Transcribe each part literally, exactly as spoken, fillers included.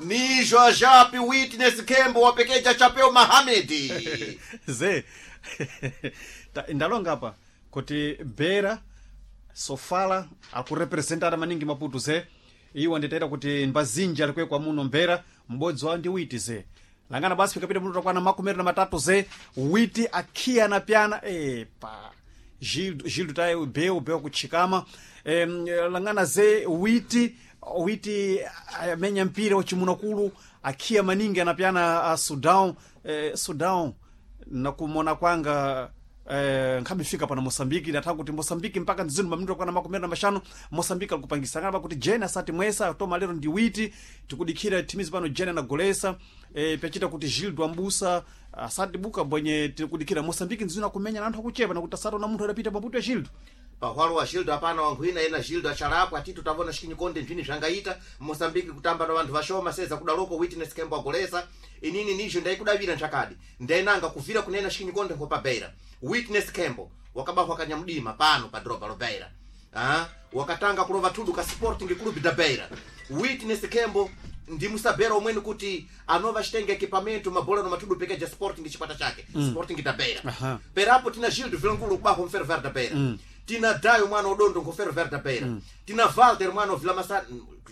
Nijo ajapi Witness Kembo wapekeja chapeo Mahamedi. Ze Ta- ndalonga apa kuti Bera Sofala akurepresentana maningi Maputo ze. Iwo nditaita kuti mbazinji alikwekwa muno Mbera, m'bodzi wawo ndi Witi ze. Langana basi pikapita mutu takwana makumi na matatu ze, Witi akhiya na pyana epa Gildo Gildo taye beu beu kutchikama em, langana ze Witi Witi amenya mpira wachimunakulu akhiya maningi anapyana a Sudan eh, Sudan nakumona kwanga eh, nkhabifika pana Moçambique ndatha kuti Moçambique mpaka mzinu maminito kwana makumi na mashanu Moçambique alikupangisa ngana pakuti Jene asati mwesa toma lero ndi Witi tikudikhira timizi pano Jene anagolesa eh, pyachita kuti Gildo Ambusa asati buka bwenye tikudikhira Moçambique mzinu akumenya na anthu akuchepa nakuti asati na munthu adapita paputo ya Gildo. Pahwalo wa Gildo apana wankhwina ena Gildo achalapwa atitu tavona chikinyikonde nthini zvangaita Moçambique kutamba na vanthu vashoma seza kudaloko Witness Kembo agolesa. Inini nijo ndaikudavira nchakadi ndainanga kuvira kunena chikinyikonde nkhopa Beira. Witness Kembo wakabahwa kanyamdima pano pa dropa lo Beira. Ah, wakatanga kulova tudu ka Sporting Club da Beira. Witness Kembo ndi musabera omweni kuti anova chitenge equipamento mabola no matudu pekeja Sporting chikwata chake mm. Sporting da Beira. Aha. Perapo tina Gildo Vilankulo kubaho mferro da Beira mm. Tina Dayo mwana odondo nkoferro da Beira mm. Tina Walter mwana ovila masa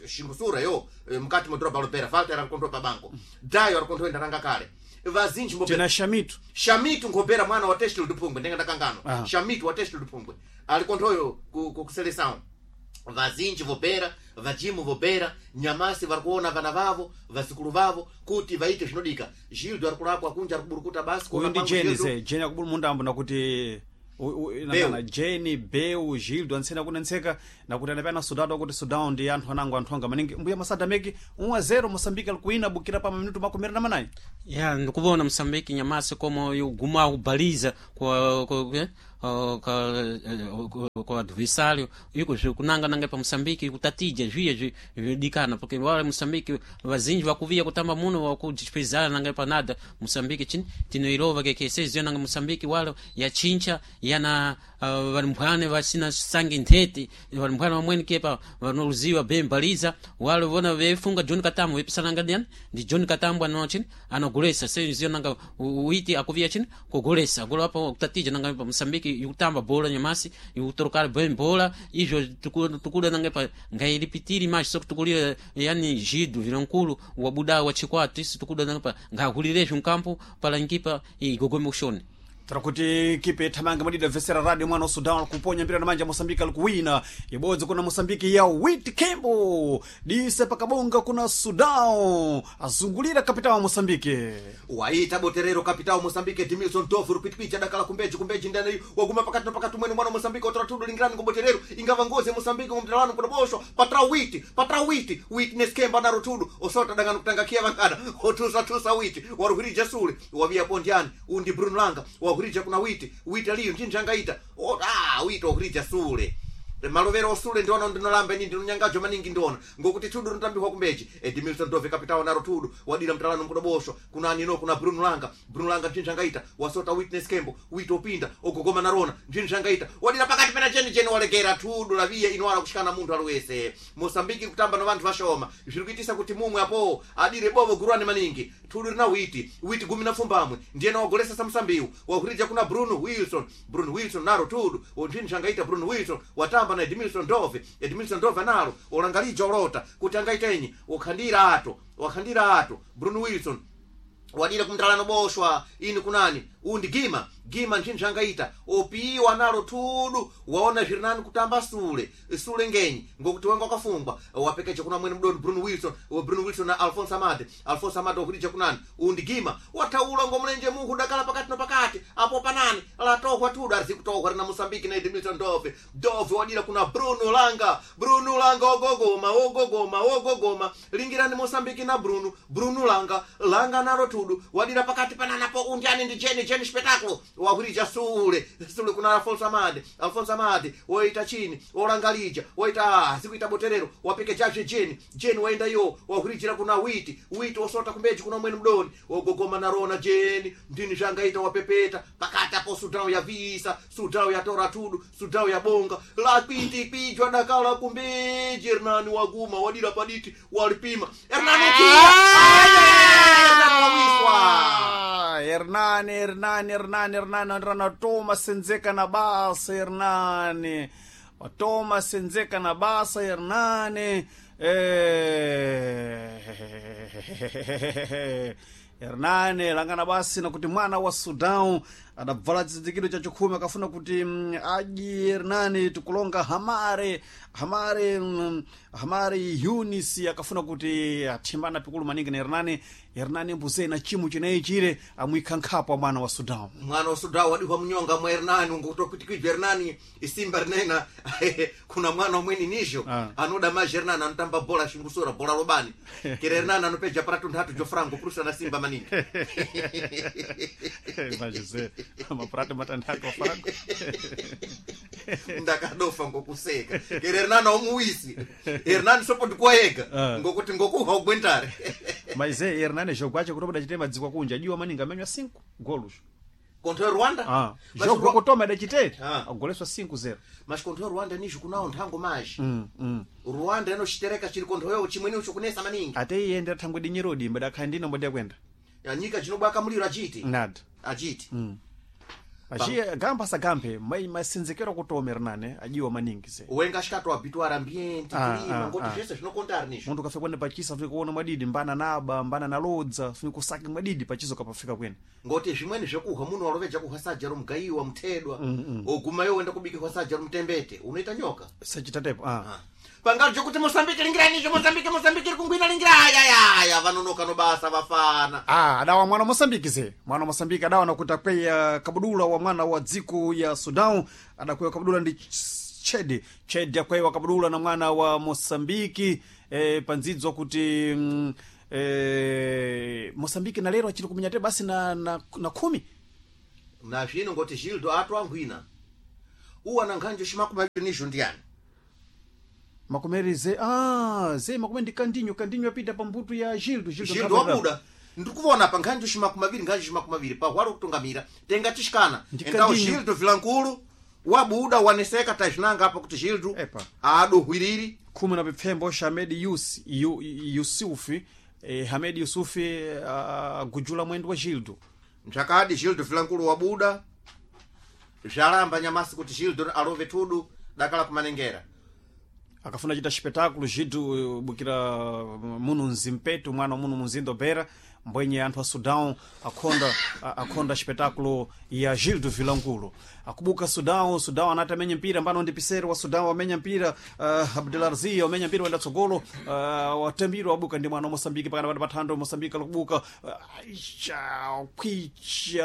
xingusura yo eh, mkati modroba lo Beira. Walter arikontho pa banco mm. Dayo arikontho enda kale vazinji mbo Tina Shamitu. Shamitu nkobera mwana wa Testilo Duphungwe ndenga ndakangano. Aha. Shamitu wa Testilo Duphungwe alikonthoyo ku, ku, ku seleção vazinji vobera vajimu vobera nyamasi vari kuona vana vavo vazukulu vavo kuti vaite zvinodika. Gildo ari kulapwa kunja ari kuburukuta basi Uyu kuona ndi kwangu Jene Gildo. ze Jene akubulu mundambo nakuti u- u- nangana Jene Beu Gildo antsena kunentseka nakuti anapyana Sudan akuti Sudan ndi anthu anango anthu anga maningi mbuya masadameki um a zero Moçambique alikuina bukira pa minuto makumi na manayi. Ya, ndikuvona Moçambique nyamasi como yoguma kubhaliza kwa kwa eh, kwa eh, kwa adversário iko zvikunanga nanga pa Moçambique kutatija zviye zvi- zvidikana porque wale Moçambique vazinji vakuvia kutamba muno wakudispezana nanga panada Moçambique chini tinoilova keke seziyo nanga Moçambique wale yachincha yana uh, valimphwane vasina sangi nthete valimphwane vamweni kepa vanoluziwa bembaliza wale vona vefunga John Katambo vepisananga ndiani ndi John Katambo ano chini anogolesa seziyo nanga u- uiti akuvia chini kugolesa gola apo kutatija nanga pa Moçambique ikutamba bola nyamasi ikutorokala bem bola izvo tuku- tukuda nanga pa ngailipitiri mais só tukulira yani Gido Vilankulu wabuda wa chikwatu isu tukuda nanga pa ngahulirezvo mkampo pala nkipa igogome ushoni. Tarakuti kipe thamanga madida vesera radio mwana wa Sudan alikuponya mpira na manja Moçambique alikuwina ibodzi kuna Moçambique ya Wit Kembo dise pakabonga kuna Sudan azungulira kapitao wa Moçambique. Waita boterero kapitao Moçambique Edmilson Dove rupitipiti adakala kumbeji kumbeji ndani waguma pakati na pakati mwene mwana Moçambique otora tudu lingirani kuboterero ingava ngozi ya Moçambique ngomtalano kudoboshwa patra Witi patra Witi Witness Kemba naro tudu osota dangano kutangakia vangana otusa tusa Witi waruhirija sule wavia pondiani undi Bruno Langa wahurija kuna Witi Witi aliyo njinja angaita o ah Witi wahurija sule malovero osule ndiona ndinolamba ini ndinonyangajo maningi ndiona ngokuti tudu rinotambihwa kumbeji Edmilson Dove kapitao naro tudu wadira mtalano mkudoboshwa kuna anino kuna Bruno Langa Bruno Langa nchinja angaita wasota Witness Kembo Witi opinda ogogoma narona nchinja angaita wadira pakati pena cheni cheni walekera tudu laviya inowala kushikana munthu aliwese Moçambique kutamba na vanthu vashoma zviri kuitisa kuti mumwe apo adire bovo guruani maningi tudu rina Witi Witi gumi na pfumbamwe ndiyena wagolesa samsambiwu wahurija kuna Bruno Wilson Bruno Wilson naro tudu nchinja angaita Bruno Wilson watamba na Edmilson Dove Edmilson Dove analo olangalija olota kuti angaitenyi wakhandira ato wakhandira ato Bruno Wilson wadira kumtalano boshwa ini kunani undi Gima Gima nchinji angaita opiwa nalo tudu waona zviri nani kutamba sule sule ngenyi ngokuti wenga wakafungwa wapekeja kuna mwene mdoni Bruno Wilson wa Bruno Wilson na Alfonso Amade Alfonso Amade wakurija kunani undi Gima wataula ngomlenje muhu dakala pakati no pakati apo panani latohwa tudu arizi kutohwa rina Moçambique na Edmilson Dove Dove wadira kuna Bruno Langa Bruno Langa ogogoma ogogoma ogogoma lingirani Moçambique na Bruno Bruno Langa Langa nalo tudu wadira pakati pananapo undiani ndi Jeni Jeni. Jeni espetáculo wahwirija sule sule kuna Alfonso Amade Alfonso Amade woita chini olangalija woita zikuita boterero wapekejazve Jeni Jeni waenda yo wahwirijira kuna witi witi wosota kumbeji kuna mwene mdoni wogogoma narona Jeni ndini zvangaita wapepeta pakati apo Sudão yavisa Sudão yatora tudu Sudão yabonga lakwiti kwijwa dakala kumbeji Hernani waguma wadira paditi walipima Hernani ukia Hernani wawiswa Ah, Hernani, Hernani, Hernani, Hernani, Hernani, toma senzeka na basa, Hernani. Toma senzeka na basa, Hernani. Eh. Hernani langana basi na kuti mwana wa Sudan adabvala chizindikiro cha chikhumi akafuna kuti mm, aji Hernani tikulonga Hamare Hamare mm, Hamare Yunis akafuna kuti athimbana pikulu maningi na Hernani Hernani mbuzei na chimu chineyi chire amwikha nkhapo wa mwana wa Sudan mwana wa Sudão wadihwa mnyonga mwa Hernani ngokutokutikijwa Hernani isimba rinena kuna mwana umweni nizho Ah. anoda maji Hernani anotamba bola xingusura bola lobani kere Hernani anopeja prato nthatu jo frango prusa na simba maningi Imagine maprato matandatu wa frango ndakadofa ngokuseka kere Hernani aumuwisi Hernani sopo ndikuwayega Ah. ngokuti ngokuha ugwentare mas é Hernani jogo acho kuti adachite madziko akunja ajiwa maningi amenywa cinco golos kontra Rwanda ah. Mas jogo Rwa- kutoma adachite Ah. agoleswa cinco zero mas kontra Rwanda nizho kunawo nthango maji mm, mm. Rwanda inoxitereka chiri konthoyo chimweni ucho kunesa maningi ate iye ndi thangwe dinyerodi mbadakhala ndina mbodi yakwenda Ya nyika chinobwaka muliro achiti nada achiti achiye gamba sagambe mai masenzekero kutoma Hernani ajiwa maningi ze wenga xikato habituar ambiente Ah, clima ah, ngoti ah. zvese zvinokontari nizvo munthu ukafika kwene pachisa fika kuona mwadidi mbana naba mbana nalodza fika kusaki mwadidi pachiso kapafika kwene ngoti zvimweni zvekuhwa munhu waloveja kuhwa sadza romugayiwa muthedwa oguma iwo wenda kubikirwa sadza romutembete unoita nyoka sachitatepo ah. pangari jokuti mosambike lingirai nizvo mosambike mosambike iri kungwina lingira ayayaya vanonoka nobasa vafana Ah, adawa mwana wa Mosambiki ze mwana wa Mosambiki adawa nakuti akweya kabudula wa mwana wa dziko ya Sudan adakweya kabudula ndi Chedi Chedi akweya kabudula na mwana wa Mosambiki eh, pandzidzo kuti mm, eh, Mosambiki na lero achiri kumenya te basi na, na, na khumi na zvino ngoti gildo atoangwina uwana nkhanjo ximakumaviri nizvo ndiyani makumeri ze ah, ze makumeri ndi kandinyo kandinyo apita pambuto ya Gildo gildo Gildo wabuda ndikuvona pa nkhanjo ximakumaviri nkhanjo ximakumaviri pahwalo kutungamira tenga tixikana Ndi então Kandinho. gildo vilankulu wabuda waneseka tazinanga apa kuti gildo Epa. adohwiriri khumi na pipfembo xa Hamed Yus, Yu, Yusufi eh, Hamed Yusufi agujula mwendo wa Gildo ntsakadi gildo vilankulu wabuda zvalamba nyamasi kuti gildo alove tudu dakala kumanengera akafuna chita espetáculo Gildo bukira muno mzimpeto mwana wa muno munzinda bera mbwenye anthu a Sudão akhonda a- akhonda espetáculo ya Gildo Vilankulo akubuka Sudão Sudão anati amenya mpira mbano ndi pisero wa Sudão amenya mpira uh, Abdelaziz amenya mpira wenda tsogolo uh, watambiro wabuka ndi mwana wa Moçambique pakana pati pathando Moçambique alikubuka uh, aisha kwicha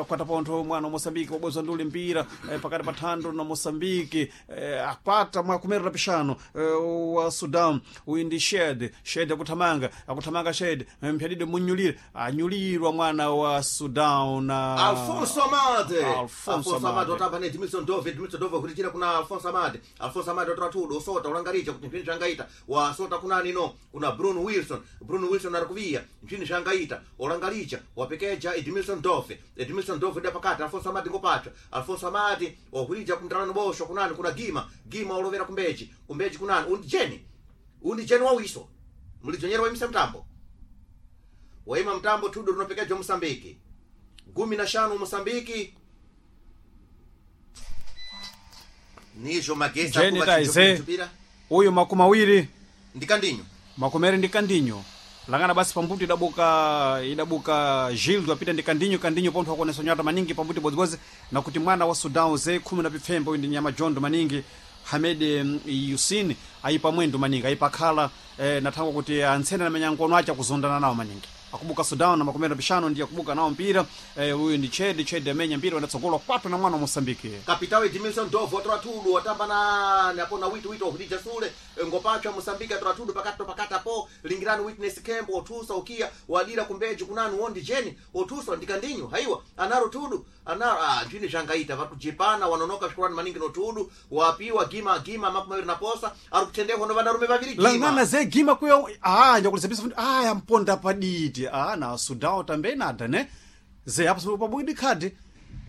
akwata pontho mwana wa Moçambique wabwezwa ndule mpira eh, pakati pa thando na Moçambique eh, akwata mwakumerera pixano eh, wa Sudan uyu ndi Shed Shed akuthamanga akuthamanga Shed eh, mphyadide munyulire anyulirwa mwana wa Sudan na Alfonso Amade Alfonso Alfonso Amade Amade. otamba ne Edmilson Dove Edmilson Dove kulichira kuna Alfonso Amade Alfonso Amade otora tudo osota ulangarija kuti mpini zvangaita wasota kuna nino kuna Bruno Wilson Bruno Wilson ari kuviya mpini zvangaita olangarija wapekeja Edmilson Dove Edmilson Dove da pakati Alfonso Amade ngopatwa Alfonso Amade wahurija kumtalano bosho kunani kuna Gima Gima olovera kumbeji kumbeji kunani undi Jeni undi Jeni wawiso mulidzonyera waimisa mtambo waima mtambo tudo runopekejwa Mosambiki gumi na shanu Mosambiki nizvo magesi Jeni akuva taize. chinjupira uyu makumi awiri ndikandinyo makomere ndi kandinyo langana basi pambuto idabuka idabuka Gildo apita ndi kandinyo kandinyo pontho akuonesa nyata maningi pambuto bodzibodzi nakuti mwana wa Sudan ze khumi na pipfembo uyu ndi nyama jondo maningi Hamed mm, Yusin ayipa mwendo maningi ayipa khala eh, nathangwa kuti antsene amenya nkono acha kuzondana nawo maningi akubuka Sudan na makumi pishano ndiye akubuka nawo mpira eh, uyu ndi Chedi Chedi amenya mpira wanatsogolwa kwathu na mwana wa Mosambiki Kapitao Edmilson Dovo otola tudu watamba na napo na witu witu ohulija sule ngopachwa Mosambiki atola tudu pakati to pakati apo lingirani Witness Kembo otusa ukia wadira kumbeji kunanu wondi jeni otusa ndikandinyo haiwa anaro tudu anaro ah njini jangaita vakujipana wanonoka shukurani maningi no tudu wapiwa gima gima makumi mawiri na posa ari kutendehwa no vanarume vaviri gima langana ze gima kuyo ah njakulizabisa fundi ah yamponda paditi ah na Sudan tambe nada ne ze apo pabwidi khadi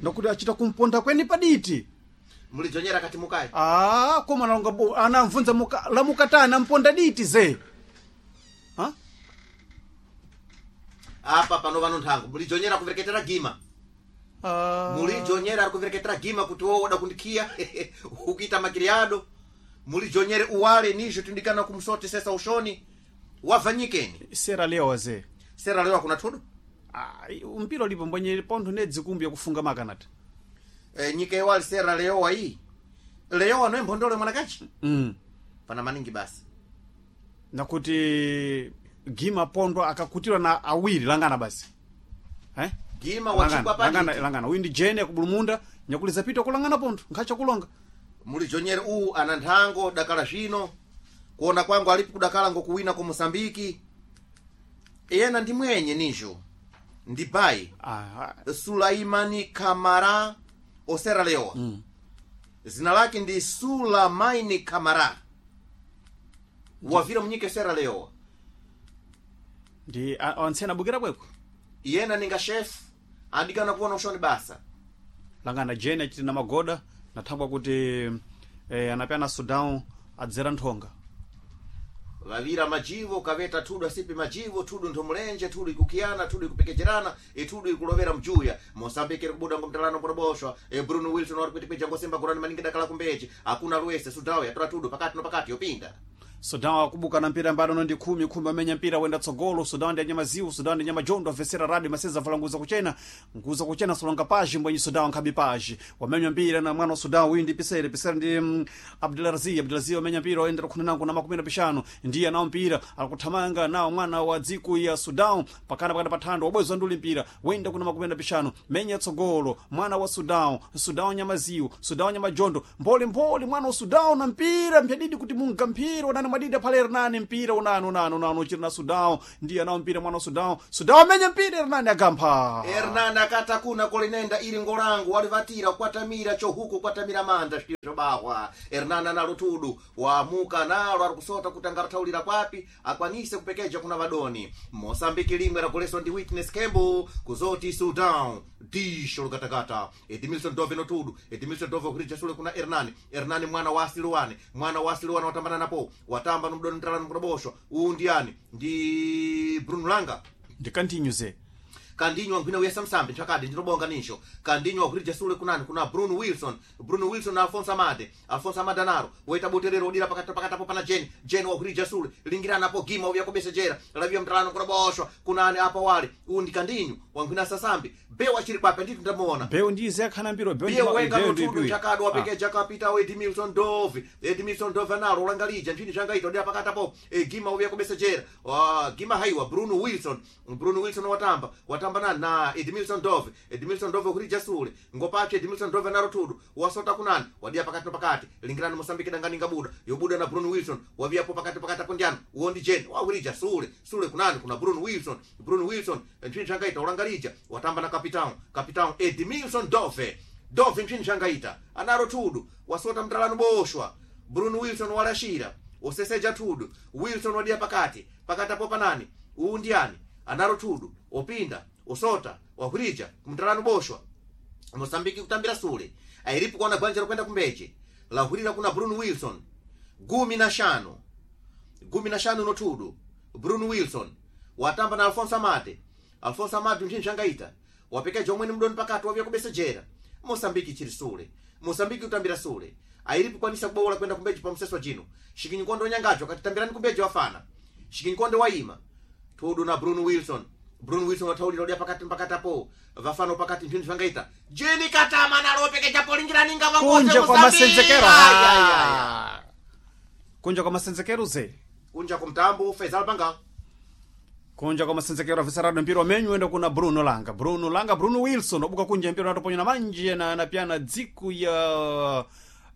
ndakuti achita kumponda kweni paditi mulijonyera kati mukai ah koma nalonga bo anamvunza muka la mukatana mponda diti ze ha apa pano vano nthangu mulijonyera kuvereketera gima ah mulijonyera ari kuvereketera gima kuti wo woda kundikiya ukuita makiriado mulijonyere uwale nizvo tindikana kumsotesesa ushoni wavhanyikeni Sierra Leone ze Sierra Leone kuna tudu ah mpira ulipo mbwenye pontho ne dzikumbi yakufunga makanati e, nyika iwali Sierra Leone iyi Leoa noe mphondole mwanakachi mm pana maningi basi nakuti gima pondo akakutirwa na awiri langana basi eh gima wachigwa langana langana, paditi langana. Uyu ndi jene akubulumunda nyakuliza pita kulangana pontho nkhacha kulonga mulijonyere uwu ana nthango dakala zvino kuona kwangu alipo kudakala ngokuwina ku Mosambiki iyena ndi mwenye nizvo ndi bai ah, ah, Sulaimani Kamara o Sierra Leone mm. Zina lake ndi Sulamaini Kamara wavira munyika ya Sierra Leone ndi a- antsena abukira kweko iyena ninga chef adikana kuona ushoni basa langana jene achiti na magoda nathangwa kuti eh, anapyana Sudan adzera nthonga vavira majivo kaveta tudu asipi majivo tudu nthomulenje tudu ikukiyana tudu ikupekejerana itudu ikulovera mjuya Mosambiki iri kubuda ngomtalano kuroboshwa e Bruno Wilson wari kuitipija ngosimba kurani maningi dakala kumbechi hakuna lwese Sudan yatora tudu pakati no pakati yopinda Sudan akubuka na mpira mbadano ndi khumi khumi amenya mpira wenda tsogolo Sudan ndi anyamaziwu Sudan ndi anyamajondo avesera radi maseza vala nguza kuchena nguza kuchena solonga paji mbwenyi Sudan nkhabi paji wamenya mpira na mwana wa Sudan uyu ndi pisere pisere ndi mm, Abdulaziz Abdulaziz wamenya mpira waendera khumi nango na makumi na pishano ndiye anawo mpira akuthamanga nawo mwana wa dziko ya Sudan pakana pakati pathando wabwezwa nduli mpira wenda kuna makumi na pishano menya tsogolo mwana wa Sudan Sudan nyamaziwu Sudan nyamajondo mbole mbole mwana wa Sudan na mpira mpyadidi kuti munga mpira unani mwadidi aphale rinani mpira unani unani unani uchiri na Sudan ndiye anawo mpira mwana wa Sudan Sudan amenya mpira rinani agampha Hernani akata kuna kolinenda ili ngolangu walivatira kwatamira chohuku kwatamira manda zvobahwa Hernani analo tudu waamuka nalo ari kusota kuti angarathaulira kwapi akwanise kupekeja kuna vadoni Mosambiki limwe ragoleswa ndi Witness Kembo kuzoti Sudan disho lukatakata Edmilson Dove no tudu Edmilson Dove kuhirija sule kuna Hernani Hernani mwana wa Asiluane mwana wa Asiluane watambana napo watamba nomdoni mtalano kuroboshwa uwu ndiyani ndi Bruno Langa ndikantinyuze kandinywa nkhwina uyesa msambi nchakadi ndinobonga nincho kandinywa kuhirija sule kunani kuna Bruno Wilson Bruno Wilson na Alfonso Amade Alfonso Amade anaro waita buterero udira pakati pakati apo pana Jeni Jeni wakuhirija sule lingirana apo gima uya kubesejera lavia mtalano kuroboshwa kunani apo wale uwu ndi kandinyu wankhwina sasambi bewa chiri kwape ndithu ndamuona beu ndize akhana mpira beu biye ndi- wenga beu ndi notudu ipiwi. chakado Ah. wapekeja kapita Edmilson Dove Edmilson Dove analo ulangalija nchini changaita odera pakati apo e, gima uya kubesejera ah, gima haiwa Bruno Wilson Bruno Wilson watamba watamba nani na Edmilson Dove Edmilson Dove kurija sule ngopache Edmilson Dove analo tudu wasota kunani wadia pakati no pakati lingirani Mosambiki danganinga buda yobuda na Bruno Wilson waviapo pakati pakati apo ndiani uondi jeni wawirija sule sule kunani kuna Bruno Wilson Bruno Wilson nchini changaita ulangalija watamba na kapitao kapitao Edmilson Dove Dove nchini changaita anaro tudu wasota mtalano boshwa Bruno Wilson walashira oseseja tudu Wilson wadia pakati pakati apo panani uwu ndiani anaro tudu opinda osota wahwirija kumtalano boshwa Mosambiki kutambira sule airipo kuona gwanja lokwenda kumbeche lahwirira kuna Bruno Wilson gumi na shano gumi na shano notudu Bruno Wilson watamba na Alfonso Amade Alfonso Amade nchini changaita wapekeja omwene mdoni pakati wavya kubesejera Mosambiki chiri sule Mosambiki kutambira sule airipo kwanisa kubowola kwenda kumbeji pa mseso jino shikinyikonde onyangacho akatitambirani kumbeji wafana shikinyikonde waima tudu na Bruno Wilson Bruno Wilson wataulira udia pakati pakati apo vafano pakati nchini changaita jini katama nalopekeja polingiraninga kunja kwa masenzekero. Ay, ay, ay. Kunja kwa masenzekero ze. Kunja kwa mtambo Faisal Banga. Kunja kwa masenzekero afisa mpira wamenyu enda kuna Bruno Langa. Bruno Langa, Bruno Wilson obuka kunja mpira natoponya na manje na na pia na dziku ya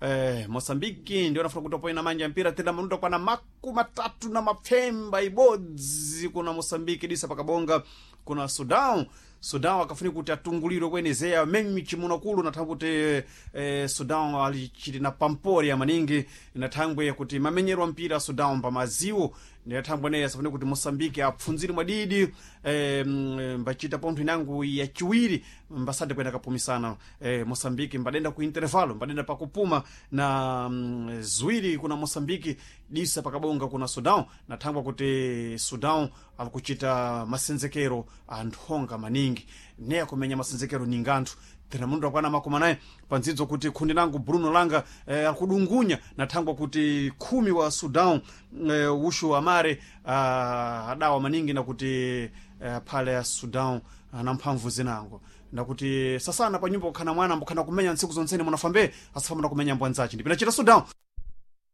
eh, Mosambiki ndio nafuna kutoponya na manje mpira tena manuta kwa na maku matatu na mapemba ibodzi kuna Mosambiki disa pakabonga kuna Sudan. Sudan akafunika kuti atungulirwe kwenezea menyu chimuno kulu nathangwe kuti eh, Sudan alichili na pampori ya maningi nathangwe kuti mamenyero mpira Sudan pamaziwo ndinathangwe naye asafune kuti Mosambiki apfunzire mwadidi eh, mm, mbachita pontho inangu ya chiwiri mbasade kwenda kapumisana eh, Mosambiki mbadenda ku intervalo mbadenda pakupuma na mm, ziwiri kuna Mosambiki disa pakabonga kuna Sudan nathangwa kuti Sudan alikuchita masenzekero anthonga maningi ne akumenya masenzekero ninganthu tena mundu akwana makumi anayi pandzidzo kuti khundi langu Bruno Langa eh, akudungunya nathangwa kuti khumi wa Sudan eh, ushu amare ah, adawa maningi nakuti eh, phale ya Sudan ana mphamvu zinango nakuti sasana pa nyumba kukhana mwana mbukhana kumenya ntsiku zonsene munafambe asafamana kumenya mbwanzaci ndipinachita Sudan.